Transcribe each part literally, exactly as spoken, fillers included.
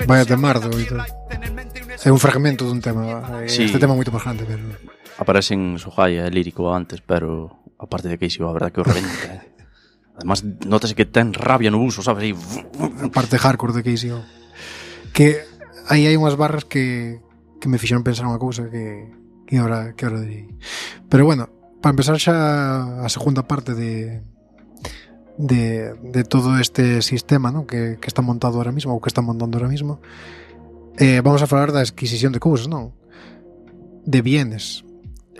Vaya temardo e tal. É un fragmento dun tema. Sí. Este tema é moito máis grande, pero... Aparecen Sohaya e Lírico antes, pero aparte de Casey, a verdade que o reventa. Además, notase que ten rabia no uso, sabes? E... A parte hardcore de Casey. Que aí hai unhas barras que, que me fixeron pensar unha cousa que, que ahora, que ahora direi. Pero bueno, para empezar xa a segunda parte de... De, de todo este sistema, ¿no? que, que está montado ahora mismo, ou que está montando ahora mismo, eh, vamos a falar da adquisición de cousas, non? De bienes.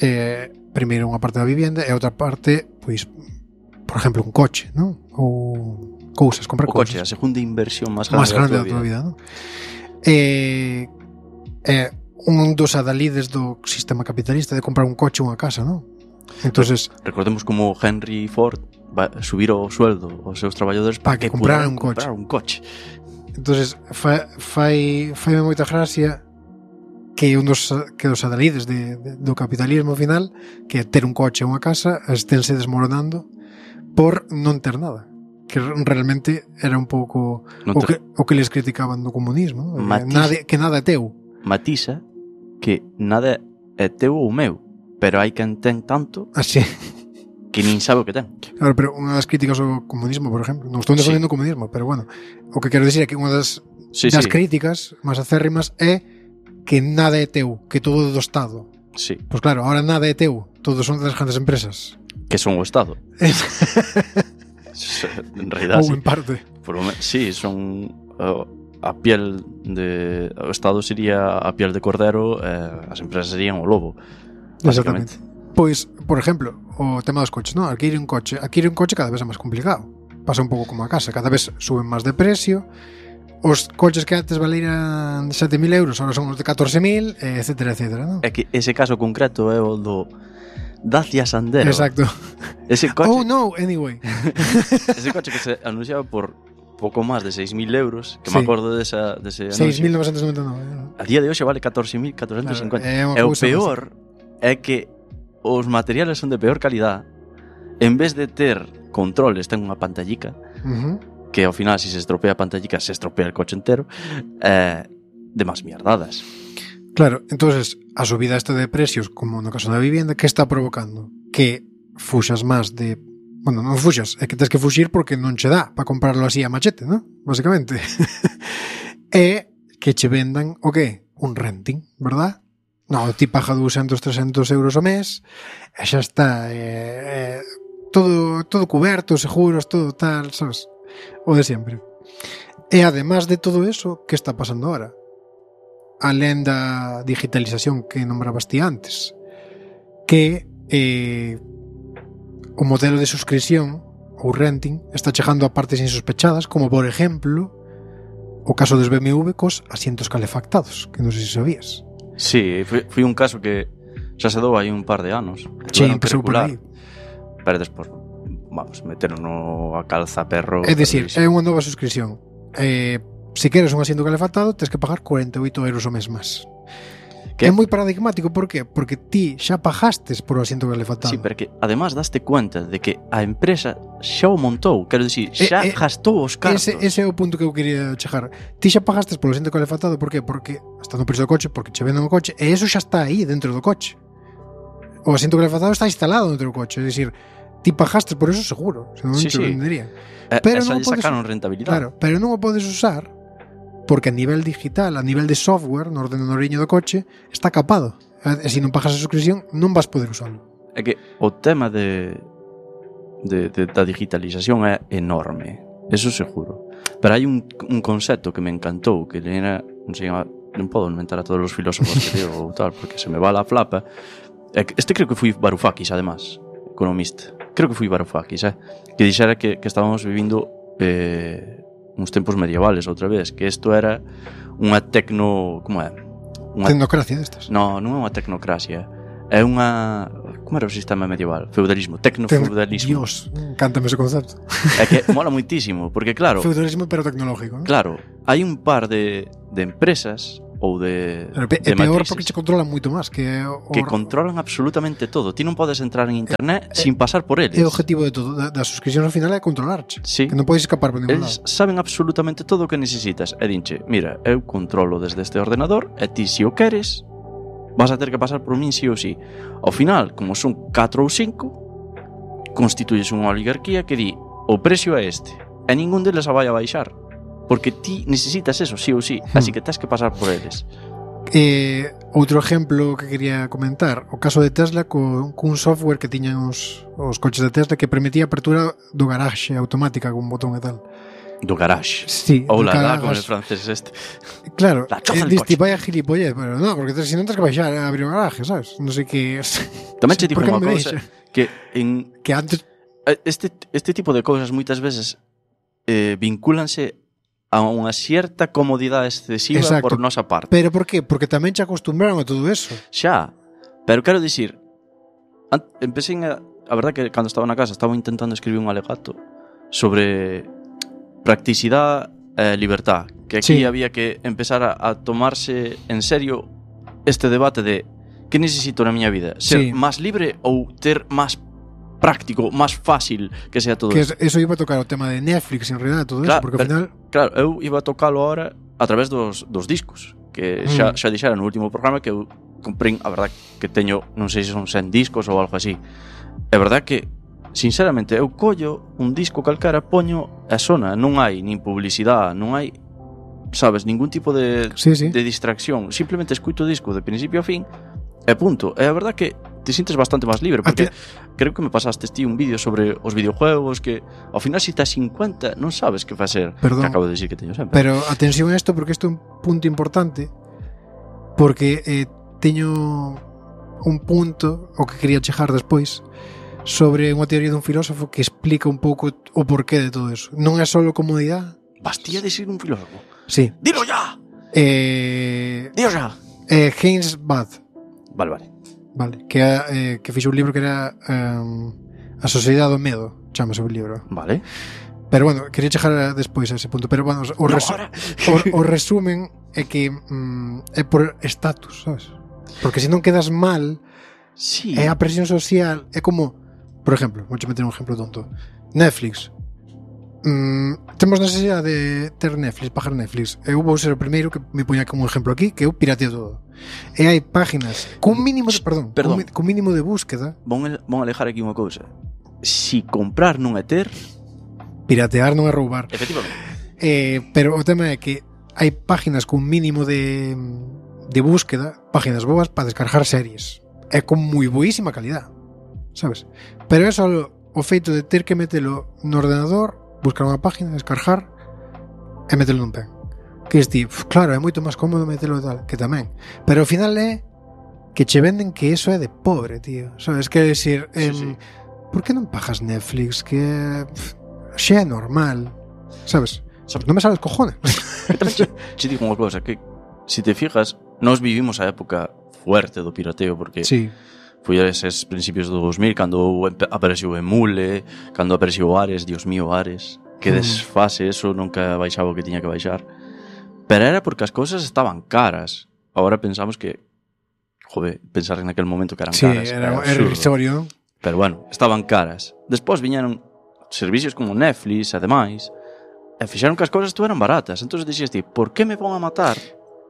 Eh, primeiro unha parte da vivienda e outra parte, pois, por exemplo, un coche, non? Ou cousas, comprar o cousas. O coche, a segunda inversión máis grande, máis grande da tua vida, non? Eh, eh, un dos adalides do sistema capitalista de comprar un coche ou unha casa, non? Entonces, recordemos como Henry Ford va a subir o sueldo aos seus traballadores para que, que comprar un coche. comprar un coche. Entonces, fai fai fai moita gracia que un dos que dos adalides de, de, do capitalismo final, que é ter un coche ou unha casa, esténse desmoronando por non ter nada. Que realmente era un pouco o que, o que les criticaban do comunismo, ¿no? Nada, que nada é teu. Matiza que nada é teu ou meu, pero hai quen ten tanto así que nin sabe o que ten. Claro, pero unha das críticas ao comunismo, por exemplo, non estou defendendo sí. o comunismo, pero bueno, o que quero dicir é que unha das, sí, das sí. críticas máis acérrimas é que nada é teu, que todo é do Estado. Sí. Pois claro, ahora nada é teu, todos son das grandes empresas. Que son o Estado. En realidad, ou sí. en parte. Por, sí, son uh, a piel de... O Estado sería a piel de cordero, eh, as empresas serían o lobo. Exactamente. Pois, por exemplo, o tema dos coches, ¿no? Adquirir un coche, adquirir un coche cada vez é máis complicado. Pasa un pouco como a casa, cada vez suben máis de precio. Os coches que antes valeran sete mil euros, ahora son os de catorce mil, etcétera, etcétera, ¿no? É que ese caso concreto é o do Dacia Sandero. Exacto. Ese coche... Oh no, anyway. Ese coche que se anunciaba por pouco máis de seis mil euros, que sí. me acordo desa, dese anuncio. seis mil novecientos noventa e nove. A día de hoxe vale catorce mil catorcentos cincuenta. Claro, é e o peor é que os materiales son de peor calidad. En vez de ter controles, ten unha pantallica, uh-huh. que ao final, se si se estropea a pantallica, se estropea el coche entero, eh, de más mierdadas. Claro, entonces a subida esta de precios, como no caso da vivienda, que está provocando? Que fuxas máis de... Bueno, non fuxas, é que tens que fuxir porque non che dá para comprarlo así a machete, ¿no? Básicamente. E que che vendan, o que? Un renting, verdad? No, ti paga doscientos, trescentos euros ao mes e xa está eh, eh, todo, todo cuberto, seguros, todo tal, sabes? O de sempre. E además de todo eso, que está pasando ahora? Alén da digitalización que nombrabas ti antes, que eh, o modelo de suscripción ou renting está chegando a partes insospechadas, como por exemplo o caso dos B M W cos asientos calefactados, que non sei se sabías. Sí, foi, foi un caso que xa se dou aí un par de anos. Sí, empezou por aí. Pero despois, vamos, meteron no a calza perro. É dicir, é unha nova suscripción. Eh, se queres un asiento calefactado, tens que pagar cuarenta e oito euros ao mes máis. Que é moi paradigmático, por qué? Porque ti xa pagastes por o asiento calefactado. Sí, pero que además daste cuenta de que a empresa xa o montou, quero dicir, xa eh, eh, gastou os cartos. Ese, ese é o punto que eu quería chegar. Ti xa pagastes por o asiento calefactado, por qué? Porque está no preço do coche, porque che venden o coche, e eso xa está aí dentro do coche. O asiento calefactado está instalado dentro do coche, é dicir, ti pagaste por eso seguro, senón sí, te sí. venderían. Eh, pero non podes, sacaron rentabilidade. Claro, pero non o podes usar porque a nivel digital, a nivel de software, no ordenadoriño do coche, está capado. E se non pagas a suscripción, non vas poder usarlo. É que o tema de, de, de da digitalización é enorme, eso seguro. Pero hai un, un concepto que me encantou, que era, non sei, non podo inventar a todos os filósofos que digo ou tal, porque se me va la flapa. Este creo que foi Varoufakis, además, economista. Creo que foi Varoufakis, eh? Que dixera que, que estábamos vivindo... Eh, uns tempos medievales outra vez, que isto era unha tecno... como é? Unha... Tecnocracia destas? No, non é unha tecnocracia. É unha... Como era o sistema medieval? Feudalismo, tecnofeudalismo. Dios, cántame ese concepto. É que mola muitísimo, porque claro... Feudalismo pero tecnológico, ¿no? Claro, hai un par de, de empresas ou de, Pero pe- de é peor matrices. porque che controlan moito máis que o, Que controlan absolutamente todo. Ti non podes entrar en internet eh, sin pasar por eles. é o objetivo de todo da, da suscripción ao final é controlarche. Sí. Que non podes escapar por ningún Eles lado. saben absolutamente todo o que necesitas. E dinche, mira, eu controlo desde este ordenador e ti, se o queres, vas a ter que pasar por min sí ou sí. Ao final, como son catro ou cinco, constituyes unha oligarquía que di o precio é este e ningún deles a vai a baixar porque ti necesitas eso sí ou sí, Hmm. así que tens que pasar por eles. Eh, outro exemplo que quería comentar, o caso de Tesla co, cun software que tiñan os, os coches de Tesla que permitía a apertura do garaxe automática con un botón e tal. Do garage. Sí, Ou do la da garaxe. como el francés este. Claro, La choza eh, del diste coche. vaya gilipollez, pero no, porque si non tens que baixar a abrir o garaje, sabes? Non sei que... Tamén che digo Por que unha non me cousa deixa? que en Que antes... este, este tipo de cousas moitas veces eh, vincúlanse a unha cierta comodidade excesiva Exacto. por nosa parte. Pero por qué? Porque tamén che acostumbraron a todo eso. Xa, pero quero dicir, an- empecé a, a verdad que cando estaba na casa estaba intentando escribir un alegato sobre practicidade e libertad, que aquí Sí. había que empezar a, a tomarse en serio este debate de que necesito na miña vida, ser Sí. máis libre ou ter máis práctico, máis fácil que sea todo Que isto. es- eso iba a tocar o tema de Netflix en realidad, todo Claro, eso, porque ao pero- final... Claro, eu iba a tocalo ahora a través dos, dos discos, que xa, Mm. xa dixera no último programa que eu comprei, a verdad que teño, non sei se son cen discos ou algo así. É verdad que, sinceramente, eu collo un disco calcara, poño a sona, non hai nin publicidade, non hai, sabes, ningún tipo de, Sí, sí. de distracción, simplemente escuito o disco de principio a fin e punto. É a verdad que te sientes bastante máis libre, porque creo que me pasaste ti un vídeo sobre os videojuegos que ao final se estás cincuenta non sabes que facer, Perdón. que acabo de decir que teño sempre. Pero atención a isto, porque isto é un punto importante, porque eh, teño un punto o que quería chejar despois sobre unha teoría dun filósofo que explica un pouco o porqué de todo eso. Non é só comodidade. Bastía de ser un filósofo. Sí. Dilo ya. Eh, Dilo ya. eh, James Bath, Vale, vale. vale, que eh, que fixo un libro que era um, A Sociedade do Medo, chamase o libro. Vale. Pero bueno, quería chejar a- despois a ese punto, pero bueno, o, No, resu ahora. o, o resumen é que mm, é por estatus, sabes? Porque se non quedas mal, Sí. é a presión social, é como, por exemplo, vou meter un exemplo tonto. Netflix. Mm, temos necesidade de ter Netflix, pagar Netflix. Eu vou ser o primeiro que me poña como exemplo aquí, que eu pirateo todo. E hai páginas cun mínimo de, perdón, Perdón. Cun, mi- cun mínimo de búsqueda, Von, el- von alejar aquí unha cousa. Si comprar non é ter, piratear non é roubar. efectivamente. Eh, pero o tema é que hai páginas cun mínimo de, de búsqueda, páginas boas para descargar series. É con moi boísima calidad, sabes? Pero é só o feito de ter que metelo no ordenador, buscar unha página, descargar e metelo nun pen. Que es ti, claro, é moito máis cómodo metelo tal, que tamén. Pero ao final é que che venden que eso é de pobre, tío. Sabes? Quer decir, Sí, em, sí. por que non pagas Netflix? Que pff, xa é normal, sabes? Sabes- Non me sabes cojones. Tamén che, che digo unha cousa, que si te fijas, nós vivimos a época fuerte do pirateo, porque Sí, foi a eses principios do dos mil, cando empe- apareceu Emule, cando apareceu Ares, Dios mío, Ares, que Mm. desfase, eso nunca baixaba o que tiña que baixar. Pero era porque as cousas estaban caras. Agora pensamos que, joder, pensar en aquel momento que eran sí, caras, era, era absurdo. irrisorio. Pero bueno, estaban caras. Despois viñeron servicios como Netflix e demais, e fixeron que as cousas estuveran baratas. Entón dixías ti, por que me van a matar?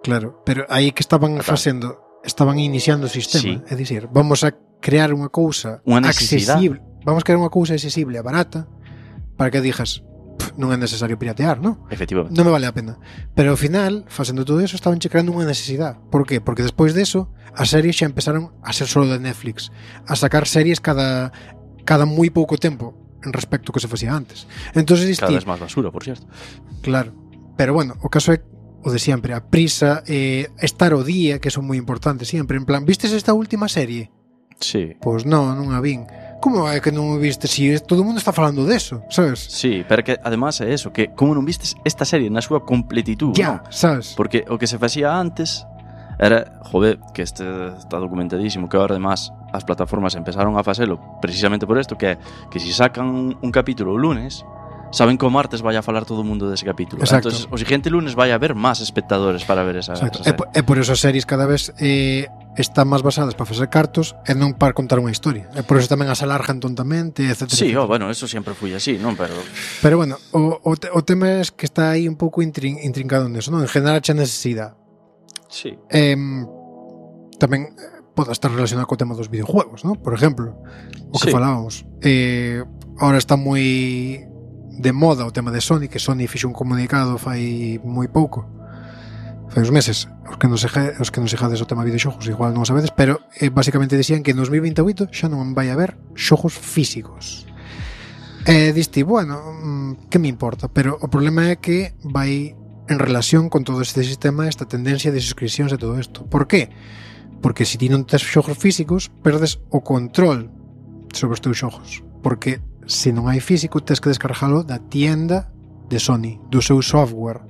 Claro, pero aí que estaban Claro. facendo, estaban iniciando o sistema, Sí. é dicir, vamos a crear unha cousa Unha necesidade. accesible, vamos a crear unha cousa accesible e barata para que dixas, "Pff, non é necesario piratear, non? Efectivamente. Non me vale a pena." Pero ao final, facendo todo eso, estaban che creando unha necesidade. Por qué? Porque despois deso, as series xa empezaron a ser solo de Netflix, a sacar series cada cada moi pouco tempo en respecto ao que se facía antes. Entonces, Cada diste, vez máis basura, por certo. claro. Pero bueno, o caso é o de siempre, a prisa, eh, estar o día, que son moi importantes siempre. En plan, vistes esta última serie? Sí. Pois non, non a vin. Como é que non o viste? Si todo o mundo está falando deso, sabes? Sí, pero que además é eso, que como non vistes esta serie na súa completitud, Ya, non? sabes? Porque o que se facía antes era, joder, que este está documentadísimo, que ahora además as plataformas empezaron a facelo precisamente por isto, que é que si sacan un, un capítulo o lunes, saben que o martes vai a falar todo o mundo dese capítulo. Exacto. Entonces, o siguiente lunes vai a haber máis espectadores para ver esa, Exacto. esa E, po- e por eso as series cada vez eh, están máis basadas para facer cartos e non para contar unha historia. E por eso tamén as alargan tontamente, etcétera. Sí, etcétera. oh, bueno, eso sempre foi así, non? Pero Pero bueno, o, o, te, o tema é que está aí un pouco intrin, intrincado neso, non? En general, xa necesidade. sí. Eh, tamén eh, pode estar relacionado co tema dos videojuegos, ¿no? Por exemplo, o que Sí. falábamos. Eh, ahora está moi de moda o tema de Sony, que Sony fixo un comunicado fai moi pouco, fai uns meses, os que non se os que non se jades o tema de videoxogos igual non o sabedes, pero eh, basicamente dicían que en dos mil veintioito xa non vai haber xogos físicos. E eh, diste, bueno, mm, que me importa, pero o problema é que vai en relación con todo este sistema, esta tendencia de suscripcións e todo isto. Por qué? Porque se ti non tes xogos físicos, perdes o control sobre os teus xogos, porque se non hai físico, tes que descargalo da tienda de Sony, do seu software.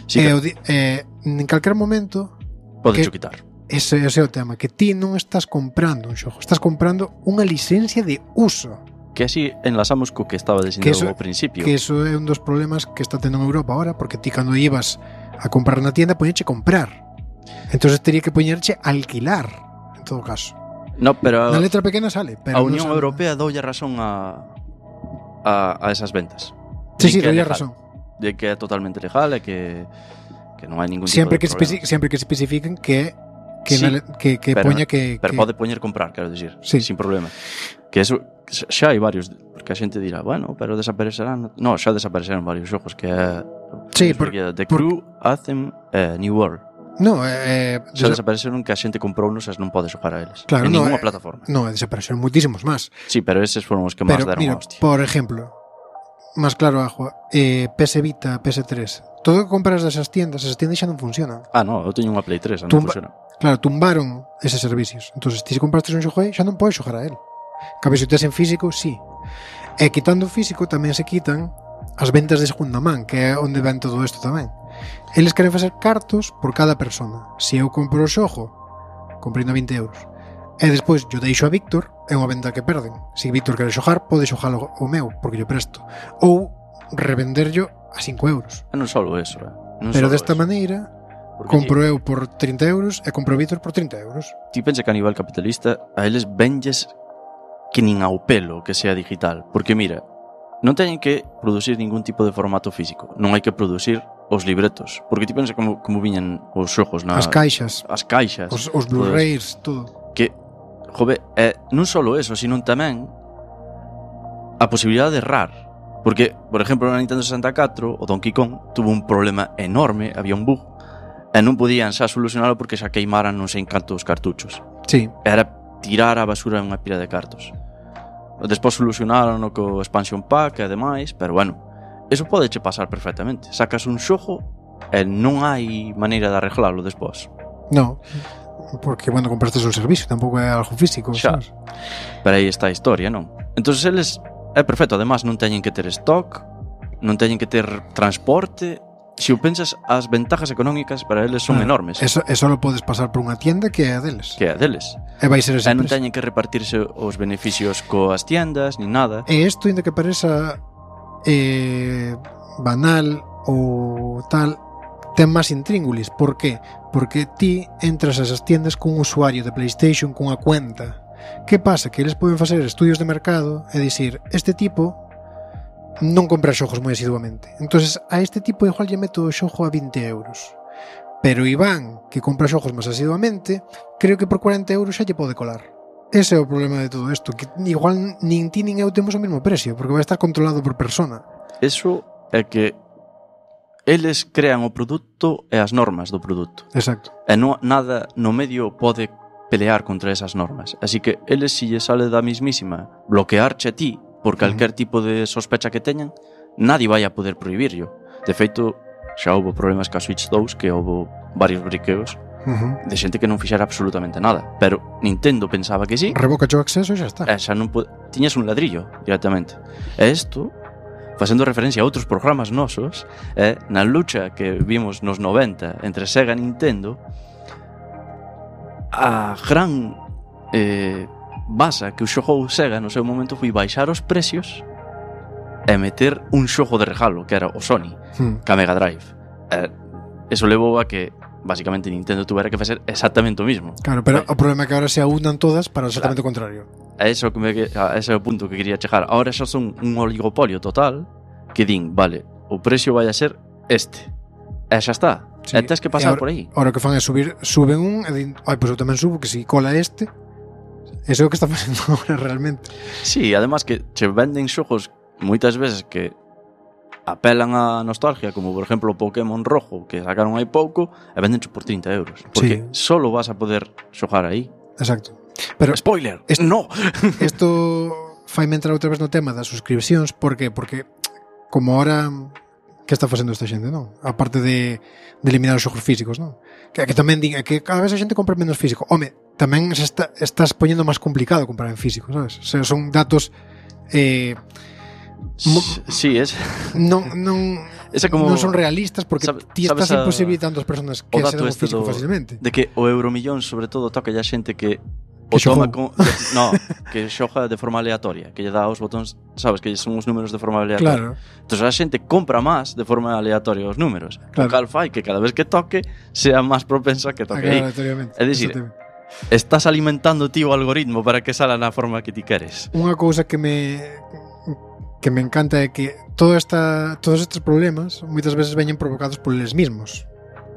Sí, e que o di- eh, en calquer momento podes que- quitar. ese, ese é o tema, que ti non estás comprando un xogo, estás comprando unha licencia de uso, Que así enlazamos co que estaba dicindo Que eso- ao principio. que eso é un dos problemas que está tendo en Europa ahora, porque ti cando ibas a comprar na tienda poñeche comprar, entonces teria que poñerche alquilar, en todo caso. No, pero Na letra pequena sale, pero a non Unión sale. Europea doulle razón a, a, a esas ventas. Sí, Di sí, que é doy legal, razón. de que é totalmente legal e que, que non hai ningún Siempre que, tipo de especi- problema. siempre que especifiquen que que, Sí, na le- que, que pero- poña que, Pero que pode poñer comprar, quero dicir, Sí. sin problema. Que eso xa hai varios, porque a xente dirá, bueno, pero desaparecerán. No, xa desapareceron varios xogos que é Sí, por- The por- Crew, Anthem, eh, New World. No, eh, Xa desa- desapareceron que a xente comprounos e non pode xogar a eles. Claro, en no, ninguna eh, plataforma. no, desaparecieron muchísimos más. Sí, pero eses foron os que máis Pero deron mira, a hostia. por ejemplo, más claro agua, eh, P S Vita, P S tres, todo que compras desas tiendas, esas tiendas xa non funcionan. Ah, no, eu teño unha Play tres, non Tumba- funciona. Claro, tumbaron eses servicios. Entonces, ti se compraste un xogo aí, xa non podes xogar a él. Cabe se o tes en físico, sí. E quitando o físico tamén se quitan as ventas de segunda man, que é onde ven todo isto tamén. Eles queren facer cartos por cada persona. Se eu compro o xogo, comprei na vinte euros, e despois yo deixo a Víctor, é unha venda que perden. Se Víctor quere xogar, pode xogar o o meu, porque yo presto. Ou revenderlo a cinco euros. E non só eso, eh. Non Pero solo desta eso. maneira, Porque compro eu por trinta euros e compro Víctor por trinta euros. ti pensa que a nivel capitalista a eles venlles que nin ao pelo que sea digital. Porque mira, non teñen que producir ningún tipo de formato físico. Non hai que producir os libretos. Porque ti pensa como, como viñan os xogos na... As caixas, as caixas. os, os Blu-rays, todo. Que, jove, é non só eso, sino tamén a posibilidade de errar. Porque, por exemplo, na Nintendo sesenta e catro, o Donkey Kong tuvo un problema enorme, había un bug, e non podían xa solucionalo porque xa queimaran non sei cantos cartuchos. Sí, Era tirar a basura unha pila de cartos. Despois solucionaron co expansion pack e demais, pero bueno, eso pode che pasar perfectamente. Sacas un xogo e non hai maneira de arreglalo despois. no. Porque, bueno, compraste un servicio, tampouco é algo físico, Xa. sabes? Pero aí está a historia, non? Entonces eles, é perfecto, además non teñen que ter stock, non teñen que ter transporte. Se o pensas, as ventajas económicas para eles son Ah, enormes. Eso, eso lo podes pasar por unha tienda que é a deles. Que é deles. E vai ser esa E non empresa. teñen que repartirse os beneficios coas tiendas, ni nada. E isto, ainda que pareza eh, banal ou tal, ten máis intríngulis. Por qué? Porque ti entras a esas tiendas cun usuario de PlayStation cunha cuenta. Que pasa? Que eles poden facer estudios de mercado e dicir, este tipo non compra xogos moi asiduamente, entonces a este tipo igual lle meto o xogo a vinte euros, pero Iván, que compra xogos máis asiduamente, creo que por cuarenta euros xa lle pode colar. Ese é o problema de todo isto, que igual nin ti nin eu temos o mesmo precio, porque vai estar controlado por persona. Eso é que eles crean o produto e as normas do produto. Exacto. E no, nada no medio pode pelear contra esas normas. Así que eles, si lle sale da mismísima bloquearche a ti por calquer tipo de sospecha que teñan, nadie vai a poder prohibirlo. De feito, xa houve problemas ca Switch dous, que houve varios briqueos Uh-huh. de xente que non fixera absolutamente nada. Pero Nintendo pensaba que sí, Revoca o acceso e xa está. e xa non po- tiñas un ladrillo directamente. E isto, facendo referencia a outros programas nosos, é na lucha que vimos nos noventa entre Sega e Nintendo, a gran eh, basa que o xogou Sega no seu momento foi baixar os precios e meter un xogo de regalo, que era o Sony, Hmm. ca Mega Drive. Eh, eso levou a que basicamente Nintendo tuvera que facer exactamente o mismo. Claro, pero Vale. o problema é que ahora se aunan todas para exactamente claro. o contrario. A eso que me, a ese é o punto que quería chegar. Ahora xa son un oligopolio total que din, vale, o precio vai a ser este. E xa está. Sí. E tens que pasar ahora, por aí. Ahora o que fan é subir, suben un e din, ai, pois pues eu tamén subo, que si cola este. Eso é o que está facendo agora realmente. Sí, además que che venden xogos moitas veces que apelan á nostalgia, como por exemplo o Pokémon Rojo, que sacaron hai pouco, e vendencho por trinta euros. Porque sí. solo vas a poder xogar aí. Exacto. Pero spoiler, esto, no. Isto faime entrar outra vez no tema das suscripcións. Por que? Porque como ahora que está facendo esta xente, non? A parte de, de eliminar os xogos físicos, non? Que, que tamén din que cada vez a xente compra menos físico. Home, tamén se está, estás poñendo máis complicado comprar en físico, sabes? O sea, son datos eh, sí, es non, non, como, non son realistas porque sabe, ti estás a, imposibilitando as persoas que se dan o físico do, facilmente. De que o Euromillón sobre todo toca a xente que o que toma con, que, no, que xoga de forma aleatoria, que lle dá os botóns, sabes, que son os números de forma aleatoria. Claro. Entón a xente compra máis de forma aleatoria os números. Claro. O cal fai que cada vez que toque sea máis propensa que toque aí. É dicir, estás alimentando ti o algoritmo para que sala na forma que ti queres. Unha cousa que me que me encanta é que toda esta, todos estes problemas moitas veces veñen provocados por eles mismos.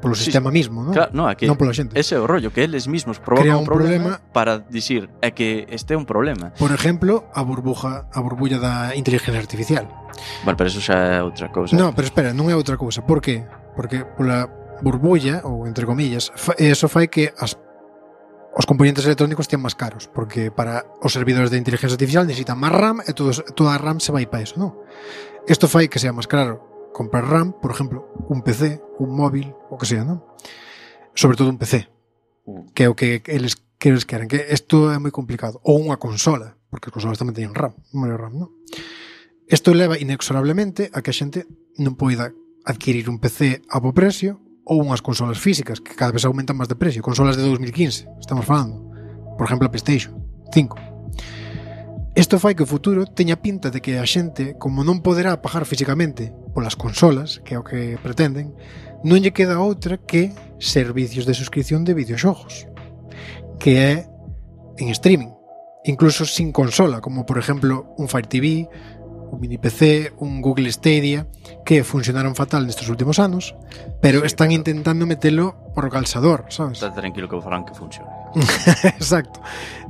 Polo sí, sistema mismo, non? Claro, no, é que non pola xente. Ese é o rollo, que eles mismos provocan un, un problema, problema para dicir é que este é un problema. Por exemplo, a burbuja, a burbulla da inteligencia artificial. Vale, pero eso xa é outra cousa. No, pero espera, non é outra cousa. Por qué? Porque pola burbulla, ou entre comillas, eso fai que as, os componentes electrónicos tean máis caros, porque para os servidores de inteligencia artificial necesitan máis RAM e todo, toda a RAM se vai para eso, non? Isto fai que sea máis caro comprar RAM, por exemplo, un P C, un móvil, o que sea, non? Sobre todo un P C, que é o que eles, que eles queren, que isto é moi complicado. Ou unha consola, porque as consolas tamén teñen RAM, memoria RAM, non? Isto leva inexorablemente a que a xente non poida adquirir un P C a bo precio ou unhas consolas físicas, que cada vez aumentan máis de precio. Consolas de dos mil quince, estamos falando. Por exemplo, a PlayStation cinco. Isto fai que o futuro teña pinta de que a xente, como non poderá pagar físicamente polas consolas, que é o que pretenden, non lle queda outra que servicios de suscripción de videoxogos, que é en streaming, incluso sin consola, como por exemplo un Fire T V, un mini P C, un Google Stadia, que funcionaron fatal nestes últimos anos, pero sí, están intentando metelo por o calzador, sabes? Está tranquilo que farán que funcione. Exacto.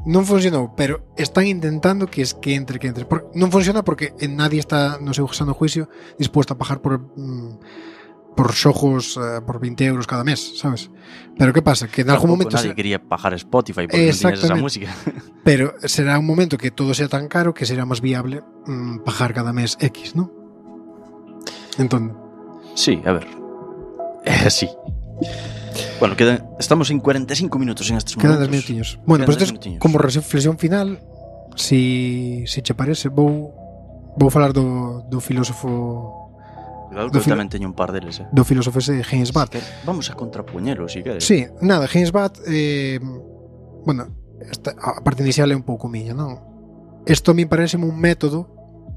Non funcionou, pero están intentando que es que entre, que entre. Por, non funciona porque nadie está, no seu sano juicio, dispuesto a pagar por mm, por xogos uh, por veinte euros cada mes, sabes? Pero que pasa? Que en algún momento nadie se... quería pagar Spotify porque non tiñas esa música. Pero será un momento que todo sea tan caro que será máis viable mm, pagar cada mes X, ¿no? Entón. Sí, a ver. Eh, sí. Bueno, quedan, estamos en cuarenta e cinco minutos en estes quedan momentos. Quedan dez minutinhos. Bueno, pois pues como reflexión final, si, si che parece, vou vou falar do, do filósofo. Cuidado que eu tamén teño un par deles, eh. Do filósofo ese James Watt. Vamos a contrapuñelo, si queres. Sí, nada, James Watt, eh, bueno, esta, a parte inicial é un pouco miña, non? Isto a mí parece un método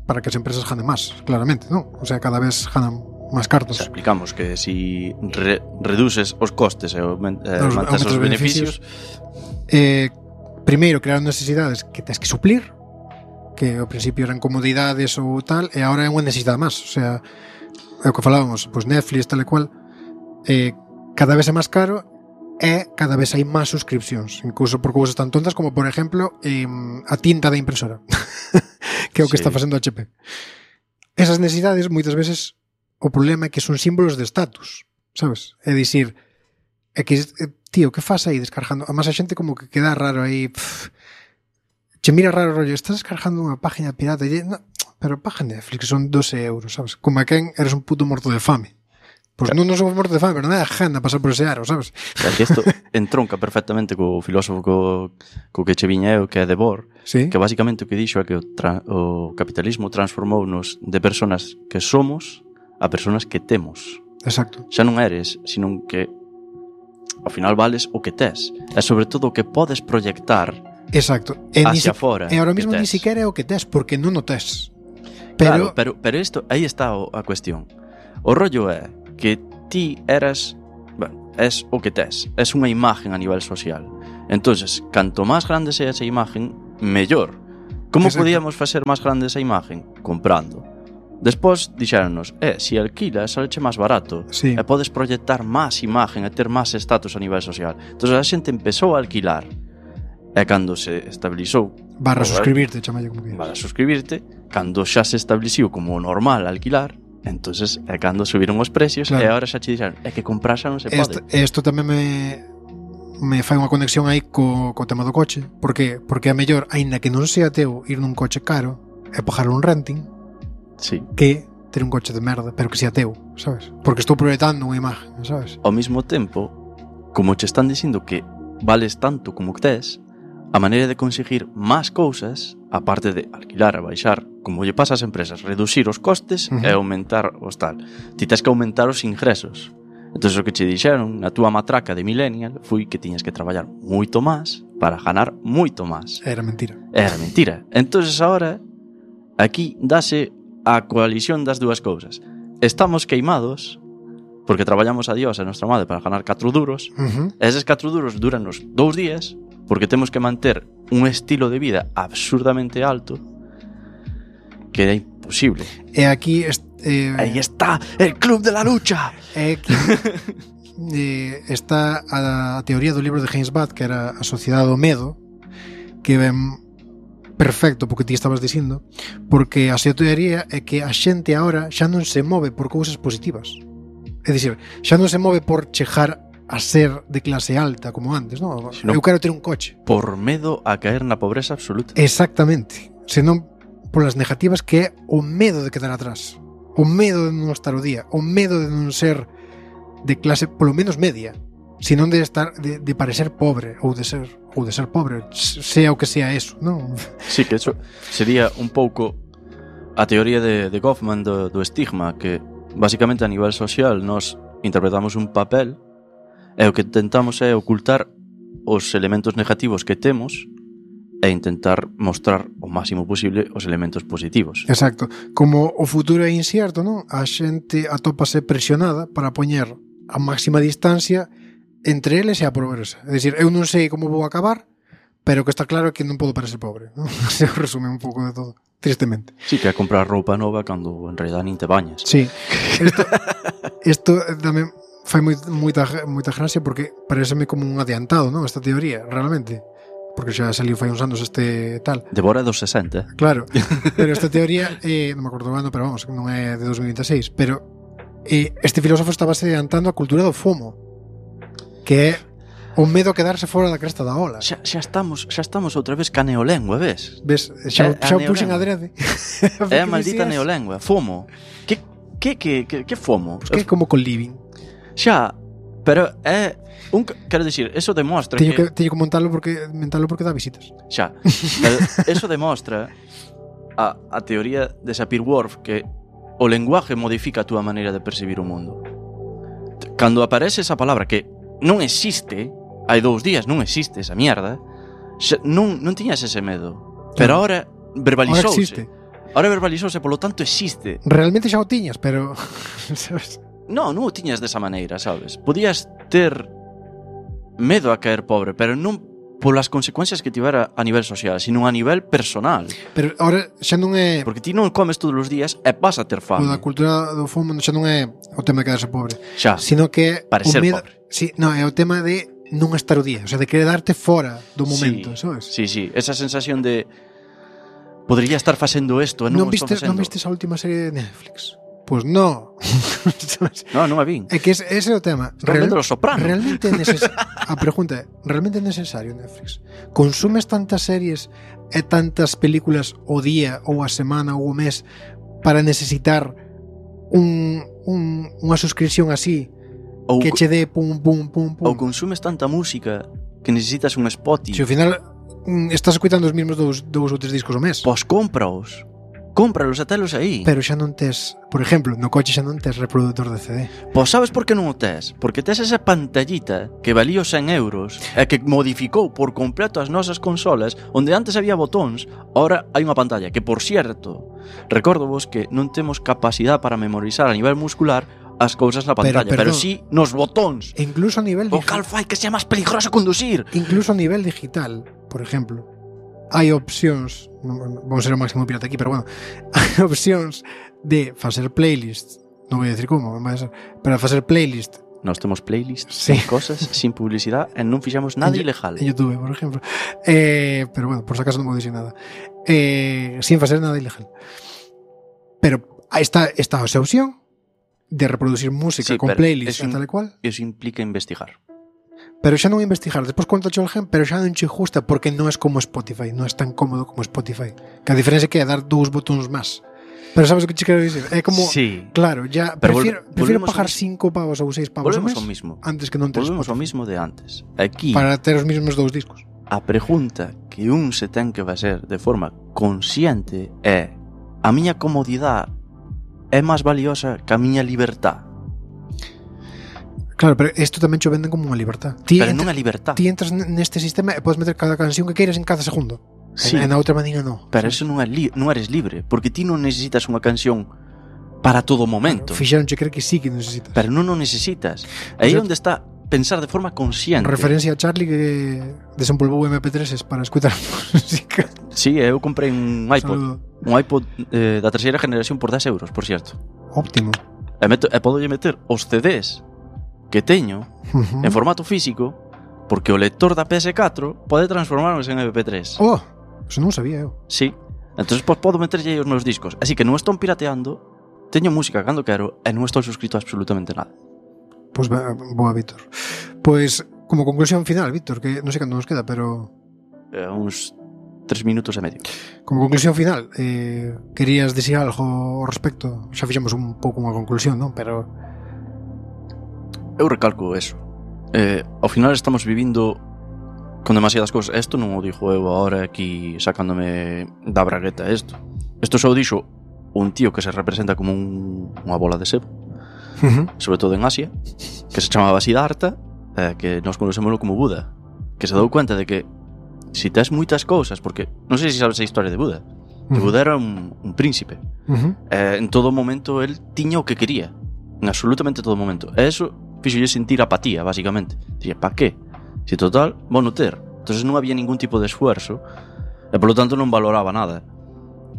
para que as empresas ganen máis, claramente, non? O sea, cada vez ganan máis cartos. O sea, explicamos que si re, reduces os costes e eh, mantes os beneficios, beneficios eh, primeiro crear necesidades que tens que suplir, que ao principio eran comodidades ou tal, e agora é unha necesidade máis. O sea, é o que falábamos, pois Netflix, tal e cual, eh, cada vez é máis caro e cada vez hai máis suscripcións, incluso por cousas tan tontas como, por exemplo, eh, a tinta da impresora, que é o que sí. está facendo H P. Esas necesidades, moitas veces, o problema é que son símbolos de estatus, sabes? É dicir, é que, tío, que faz aí descargando? Además a xente como que queda raro aí, pff, che mira raro rollo, estás descargando unha página pirata, e, no, pero paga Netflix, que son doce euros, sabes? Como a quen eres un puto morto de fame. Pois pues claro. non, non somos morto de fame, pero nada de gana pasar por ese aro, sabes? O sea, que isto entronca perfectamente co filósofo co, co que che viña eu, que é Debord, ¿Sí? Que basicamente o que dixo é que o, tra, o capitalismo transformounos de personas que somos a personas que temos. Exacto. Xa non eres, sino que ao final vales o que tes. E sobre todo o que podes proyectar Exacto. E hacia si, fora. E ahora mismo ni siquiera é o que tes, porque non o tes. Pero, claro, pero, pero isto, aí está o, a cuestión. O rollo é que ti eras, bueno, es o que tes, es unha imagen a nivel social. Entonces, canto máis grande sea esa imagen, mellor. Como Exacto. podíamos facer máis grande esa imagen? Comprando. Despois dixéronnos, eh, si alquilas, saleche máis barato, sí. e podes proyectar máis imagen e ter máis estatus a nivel social. Entón a xente empezou a alquilar, e cando se estabilizou Barra o- suscribirte, chamalle como quieras. para suscribirte, cando xa se estableciu como normal alquilar, entonces é cando subiron os precios, Claro. e agora xa che dixeron, é que comprar xa non se Esto, pode. esto tamén me me fai unha conexión aí co, co tema do coche. Por que? Porque é mellor, aínda que non sea teu, ir nun coche caro e pagar un renting Sí. que ter un coche de merda, pero que sea teu, sabes? Porque estou proyectando unha imagen, sabes? Ao mesmo tempo, como che están dicindo que vales tanto como que tes, a maneira de conseguir máis cousas, aparte de alquilar e baixar, como lle pasa ás empresas, reducir os costes Ujú. e aumentar os tal. Ti tes que aumentar os ingresos. Entón, o que che dixeron na túa matraca de millennial foi que tiñas que traballar moito máis para ganar moito máis. Era mentira. Era mentira. Entonces ahora aquí dase a coalición das dúas cousas. Estamos queimados porque traballamos a Dios e a nosa madre para ganar catro duros. Uh-huh. E eses catro duros duranos dous días porque temos que manter un estilo de vida absurdamente alto que é imposible. E aquí est, eh, Aí está el club de la lucha. é aquí eh, está a, a teoría do libro de James Butt, que era A Sociedade do Medo, que ven perfecto porque ti estabas dicindo, porque a súa teoría é que a xente agora xa non se move por cousas positivas. É dicir, xa non se move por chegar a ser de clase alta como antes, non? Sino- Eu quero ter un coche. Por medo a caer na pobreza absoluta. Exactamente. Senón polas negativas, que é o medo de quedar atrás, o medo de non estar o día, o medo de non ser de clase polo menos media, senón de estar de, de parecer pobre ou de ser ou de ser pobre, sea o que sea eso, non? Sí, que eso sería un pouco a teoría de, de Goffman do, do estigma, que basicamente a nivel social nos interpretamos un papel e o que tentamos é ocultar os elementos negativos que temos e intentar mostrar o máximo posible os elementos positivos. Exacto. Como o futuro é incierto, non? A xente atópase presionada para poñer a máxima distancia entre eles e a pobreza. É dicir, eu non sei como vou acabar, pero que está claro é que non podo parecer pobre, non? Se resume un pouco de todo, tristemente. Sí, que é comprar roupa nova cando en realidad nin te bañas. Sí. Isto, isto tamén fai moi, moita, moita gracia porque pareceme como un adiantado, non? Esta teoría, realmente. Porque xa saliu fai uns anos este tal. Devora dos sesenta. Claro, pero esta teoría, eh, non me acordo o ano, pero vamos, non é de dos mil veintiséis, pero eh, este filósofo estaba adiantando a cultura do FOMO, que é o medo a quedarse fora da cresta da ola. Xa, xa estamos, xa estamos outra vez ca neolengua, ves? Ves, xa, É a xa o puxen neolengua. adrede. É a maldita neolengua, FOMO. Que que que que, que FOMO? Que é como con living. Xa, pero é un, quero dicir, eso demostra Teño que, que, teño que montalo porque, mentalo porque dá visitas. xa, pero eso demostra a, a teoría de Sapir-Whorf que o lenguaje modifica a túa maneira de percibir o mundo. Cando aparece esa palabra que non existe, hai dous días non existe esa mierda, xa, non, non tiñas ese medo. Pero ahora Ahora verbalizouse. existe. Ahora verbalizouse, polo tanto existe. Realmente xa o tiñas, pero sabes? No, non o tiñas desa maneira, sabes? Podías ter medo a caer pobre, pero non polas consecuencias que tivera a nivel social, sino a nivel personal. Pero ahora xa non é Porque ti non comes todos os días e vas a ter o fame. da cultura do FOMO, xa non é o tema de quedarse pobre, Xa, sino que é Parecer o medo, pobre. sí, no, é o tema de non estar o día, o sea, de querer darte fora do momento, sí, sabes? Sí, sí, esa sensación de podría estar facendo isto e non, Non o estou vistes, non facendo. vistes a última serie de Netflix? Pois pues no. Sabes? No, non a vin. É que ese, ese é o tema. Estou vendo Los Soprano. Realmente é neces- a pregunta é, realmente é necesario Netflix? Consumes tantas series e tantas películas o día ou a semana ou o mes para necesitar un, un, unha suscripción así Ou, que che dé pum, pum, pum, pum? ou consumes tanta música que necesitas un Spotify. Se ao final mm, estás escuitando os mesmos dous, dous ou tres discos ao mes, Pois cómpraos. Cómpralos e telos aí. pero xa non tes, por exemplo, no coche xa non tes reproductor de C D. Pois sabes por que non o tes? Porque tes esa pantallita que valía os cen euros e que modificou por completo as nosas consolas, onde antes había botóns, ahora hai unha pantalla que, por cierto, Recordo vos que non temos capacidade para memorizar a nivel muscular as cousas na pantalla, pero, pero sí nos botóns. E incluso a nivel o cal fai que sea máis peligroso conducir. Incluso a nivel digital, por exemplo, hai opcións, non, vamos ser o máximo pirata aquí, pero bueno, hai opcións de facer playlist, non vou dicir como, pero facer playlist. Nós temos playlists, sí. Sin cosas, sin publicidade, e non fixamos nada en, ilegal. En YouTube, por exemplo. Eh, pero bueno, por si acaso non vou dicir nada. Eh, sin facer nada ilegal. Pero está, está esa opción de reproducir música sí, con playlist e tal e cual. Eso implica investigar. Pero xa non investigar, despois contacho o gen, pero xa non che gusta porque non é como Spotify, non é tan cómodo como Spotify. Que a diferencia é que é dar dous botóns máis. Pero sabes o que che quero dicir? É como, sí. Claro, ya pero prefiero, vol prefiero pagar cinco pavos ou seis pavos ao mes mismo. Antes que non ter Volvemos ao mismo de antes. Aquí, para ter os mesmos dous discos. A pregunta que un se ten que facer de forma consciente é: a miña comodidade é máis valiosa que a miña libertad? Claro, pero isto tamén che venden como unha libertad. Ti pero non é libertad. Ti entras neste sistema e podes meter cada canción que queiras en cada segundo. Sí, e na outra maneira non. Pero eso non, é li non eres libre, porque ti non necesitas unha canción para todo momento. Claro, fixeronche creer que sí que necesitas. Pero non o necesitas. Aí é onde está pensar de forma consciente. Referencia a Charlie que desempolvou eme pe tres para escutar música. Sí, eu comprei un iPod. Saludo. Un iPod eh, da terceira generación por dez euros, por cierto. Óptimo. E, meto, e podo meter os C Ds que teño uh -huh. en formato físico, porque o lector da P S catro pode transformarnos en eme pe tres. Oh, eso non sabía eu. Sí. Entonces pois, podo meterlle os meus discos. Así que non estou pirateando, teño música cando quero e non estou suscrito a absolutamente nada. Pois pues, boa, Víctor. Pois, pues, como conclusión final, Víctor, que non sei cando nos queda, pero... Eh, uns tres minutos e medio. Como conclusión final, eh, querías dicir algo ao respecto? Xa fixemos un pouco unha conclusión, non? Pero... Eu recalco eso. Eh, ao final estamos vivindo con demasiadas cousas. Isto non o dixo eu agora aquí sacándome da bragueta isto. Isto só o dixo un tío que se representa como un, unha bola de sebo, uh-huh. sobre todo en Asia, que se chamaba Siddhartha, eh, que nos conocémoslo como Buda, que se dou cuenta de que si tes moitas cousas, porque non sei se sabes a historia de Buda, que uh-huh. Buda era un, un príncipe, uh-huh. eh, en todo momento el tiña o que quería, en absolutamente todo momento, e eso fixolle sentir apatía, basicamente. Dixía, pa que? Si total, vou non ter. Entonces non había ningún tipo de esfuerzo e polo tanto non valoraba nada.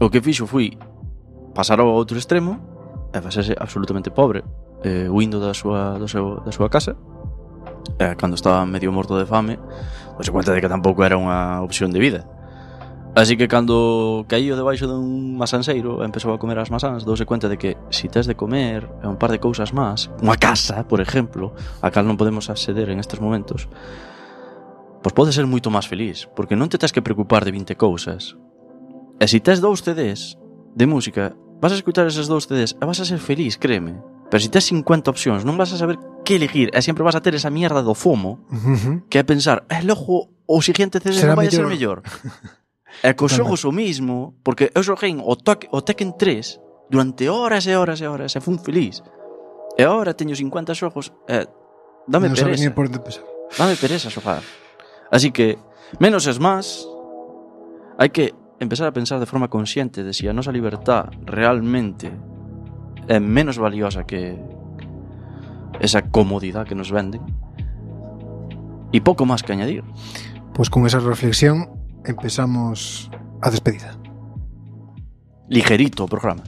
O que fixo foi pasar ao outro extremo e facerse absolutamente pobre, eh, huindo da súa, do seu, da súa casa, e cando estaba medio morto de fame, se cuenta de que tampouco era unha opción de vida. Así que cando caíu debaixo dun masanseiro e empezou a comer as masans, douse cuenta de que si tes de comer e un par de cousas máis, unha casa, por exemplo, a cal non podemos acceder en estes momentos, pois pode ser moito máis feliz, porque non te tes que preocupar de vinte cousas. E si tes dous C Ds de música, vas a escutar eses dous C Ds e vas a ser feliz, créeme. Pero si tes cincuenta opcións, non vas a saber que elegir e sempre vas a ter esa mierda do FOMO, uh-huh. que é pensar, eh, logo, o siguiente C D non vai a ser mellor. E cos xogos o mismo, porque eu xoguei o, o Tekken tres durante horas e horas e horas e fun feliz. E agora teño cincuenta xogos e dame no pereza. Por empezar. Dame pereza xogar. Así que, menos es más, hai que empezar a pensar de forma consciente de si a nosa libertad realmente é menos valiosa que esa comodidade que nos venden e pouco máis que añadir. Pois pues con esa reflexión empezamos a despedida. Ligerito o programa.